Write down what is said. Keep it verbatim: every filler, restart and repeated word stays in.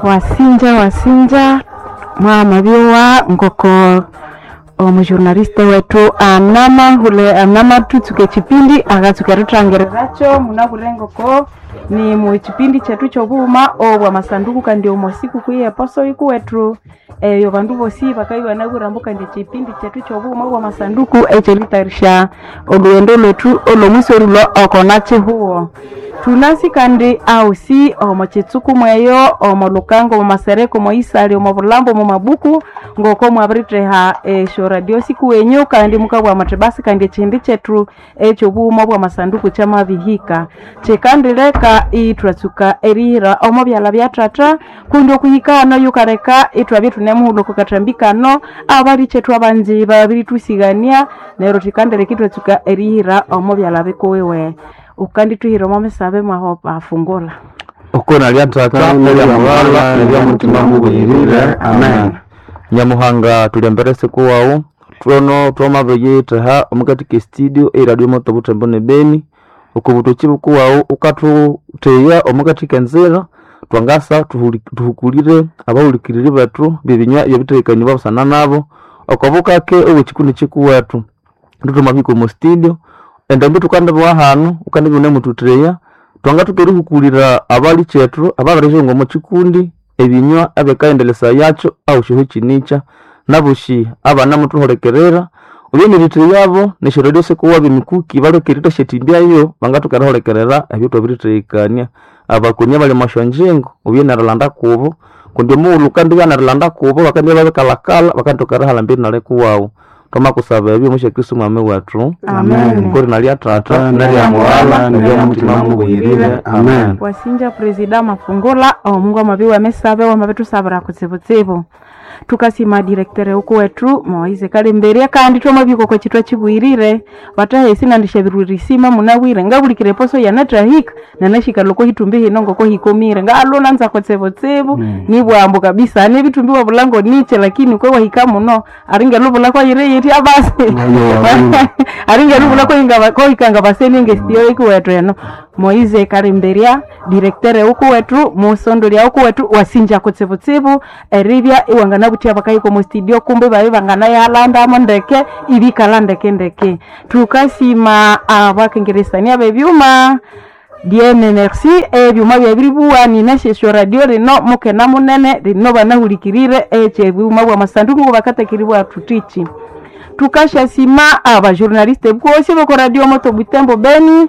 Wasinja wasinja mwamabyowa ngoko omujournaliste wetu anamahule anamatutsuka echipindi akatsuka erithangiriracyo munabwire ngoko ni mu chipindi chethu kyobughuma obwa masanduku kandi omo sikukuu yeposo ikuwethu eyo bandu bosi bakabya ibanabwire ambu kandi echipindi chethu kyobughuma obwa masanduku ekyeritayarisha olhughendo lwethu olhomwisi orilhwa oko nakihuho thunasi kandi ahosi omo kitsuku mweyo omo lhukango omo masereka omo isali omo bulhambo omo mabuku ngoko mwabiritheha esyo radio sikuwenyu kandi mukabugha muthi basi kandi ekihindi kyethu ekyobughuma obwa masanduku kyamabihika kyikandileka ithwatsuka erihira omo byalha bya thatha kundi okuhika hano yukaleka ithwabya ithunemuhulha oko kathambi kano abalikyethu abangi babirithwisigania neryo thikandileka ithwatsuka erihira omo byalha bikuwiwe ukandithuhira omo misabe mwaho bafungula Okuna lya tata nelya mughala nelya mutima mubuyirire amen nyamuhanga tulyambere siku wawu twono twamabiriyitheha omukati ke studio eradio moto butembo ne beni okubutoki bukuwawu ukathutheya omukati kenzira twangasa tuhuli- tuhukulire abahulikiriri bethu bebinywa ebyabithehekaniwa busana nabo okobukake obwekikundi kikuwethu thuthwamabihika omo studio endambi thukandibowa hanu wukandibya iwunemuthutheya twangathoka erihukulira abalikyethu ababirihunga omo kikundi ebinywa ebikayendelesayakyo ahosyoho ekinikya nabosi abanamuthuhulikirira oyo neritheghabo nesyoradio sikuwabo emikuki balhoke erithasyathimbyayo bangathoka erihulikirira ebyathwabirithehekania abakoni abali omwa syonjingo oyo nerilanda kubo kundi omughulhu wukandibya nerilanda kubo bakandibya babikalhakalha bakandithoka erihalha nali kuwawu twamakusaba ebyo omwa Kristo mwami wethu Amen. kori nalya tata nelya mughala nelya mutima mubuyirire amen wasinja presida mafungula omungu amabi wemisabe wamabithusabira kutsibutsibu tukasima direktere uku wetu moise kalemberia kandi twamabiko kwa chitwa chibwirire vatahesi nandishavirurisima munabwire ngabulikire poso yanatrahika nanashika loko hitumbi hino ngoko hikomire ngalo nanza kutsibutsibu mm. ni bwambo kabisa ni vitumbi wa bulango niche lakini kwe wahika muno aringe luvula kwa yire yiti abasi aringe luvula kwa kohikanga baseninge stiyo ikuwetu eno moise kalemberia direktere uku wetu musondolia uku wetu wasinja kutsibutsibu eribya iwanganabuthya bakahika omu studio kumbe babe banganayalandamo ndeke ibikala ndeke ndeke tukasima abakengeresania bebyuma diene merci ebyuma byabiribuwa ninashesyo radio lino mukena munene lino banahulikirire ekyebyuma bwa masanduku ngo bakatakiribwa tutichi tukashasima abajournaliste bwosi boko radio moto butembo beni